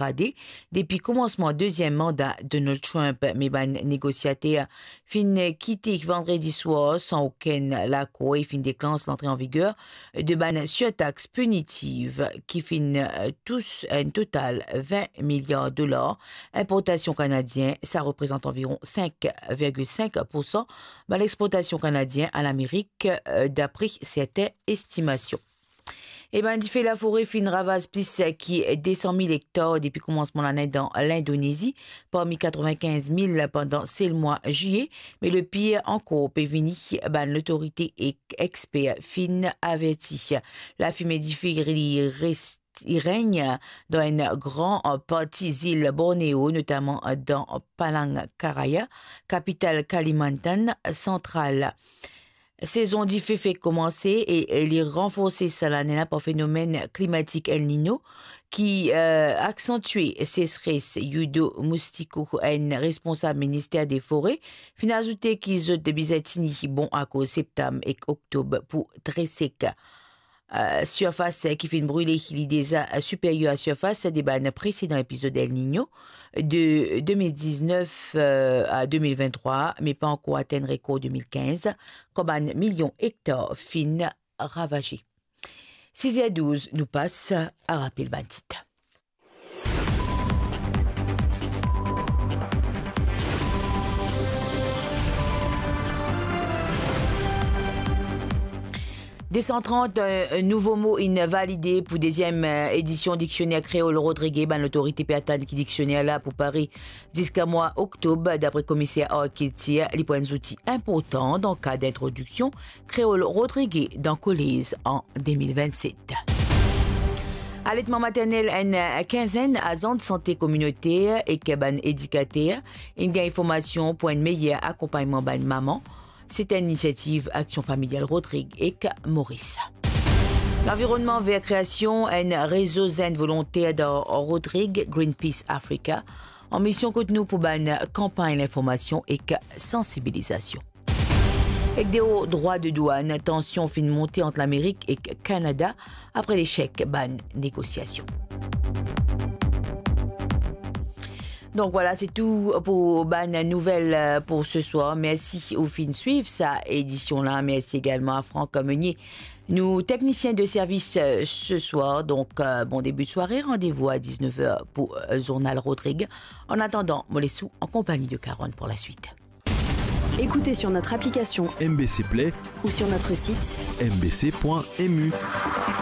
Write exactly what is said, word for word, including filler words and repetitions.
degradé depi koumansman deziem manda Donald Trump, me bann negosiater finn kite vandredi swar san okenn lakor e finn deklans lantre an viger de bann sirtax pinitif ki finn tous enn total vin miliar dolar inportasion kanadien, sa reprezant anviron sink virgil sink poursan bann exportasion kanadien a Lamerik, dapre sertin estimasion. E bann dife lafore finn ravaz plis ki de san mil ektar depi koumansman lane dan Lindonezi, parmi katrevinkinz mil pandan sel mwa ziye. Me lepir ankor pe vini, bann lotorite ek exper finn averti. Lafime dife li res-, li regn dan enn gran parti zil Borneo, notaman dan Palangkaraya, kapital Kalimantan Santral. Sezon dife fek koumanse e, e li ranforse sa lane la par fenomenn klimatik El Niño ki, eh, aksantie sesres. Yudo Mustiku, enn responsab minister de fore, finn azoute ki zot bizin tini bon akoz septam ek oktob pou tre sek. Eh, sirfas ki finn brile li deza siperyer a sirfas de bann presedan epizod El Niño de de mil diznef, eh, a de mil venntrwa, me pa ankor atenn rekor de mil kinz, kan bann milion ektar finn ravaze. Siz er douz, nou pas a rapel bann tit. De san trant, eh, nouvo mo inn valide pou deziem, eh, edision diksioner kreol Rodrig. Bann lotorite pe atann ki diksioner la pou pare ziska mwa oktob. Dapre komiser Arkiltir, li pou enn zouti inportan dan kad introdiksion kreol Rodrig dan kolez an de mil vennset. Aletman maternel, enn kinzenn azan de sante kominoter ek bann edikater inn gagn formasion pou enn meyer akonpagnman bann mama. Se enn inisiativ Aksion Familial Rodrig ek Moris. Lanvironnman ver kreasion enn rezo zenn volonter dan Rodrig, Greenpeace Africa, an mision kot nou pou bann kanpagn linformasion ek sansibilizasion. Ek deor drwa de dwann, tansion finn monte ant Lamerik ek Kanada apre lesek bann negosiasion. Donk vwala, se tou pou bann nouvel, eh, pou se swar. Mersi ou finn swiv sa edision la. Mersi egalman a Franck Meunier, nou teknisien de servis, eh, se swar. Donk, eh, bon debi de sware. Randevou a diznef er pou, eh, zournal Rodrig. An atandan, mo les ou an konpagni de Caronne pou laswit. Écoutez sur notre application M B C Play ou sur notre site M B C point M U.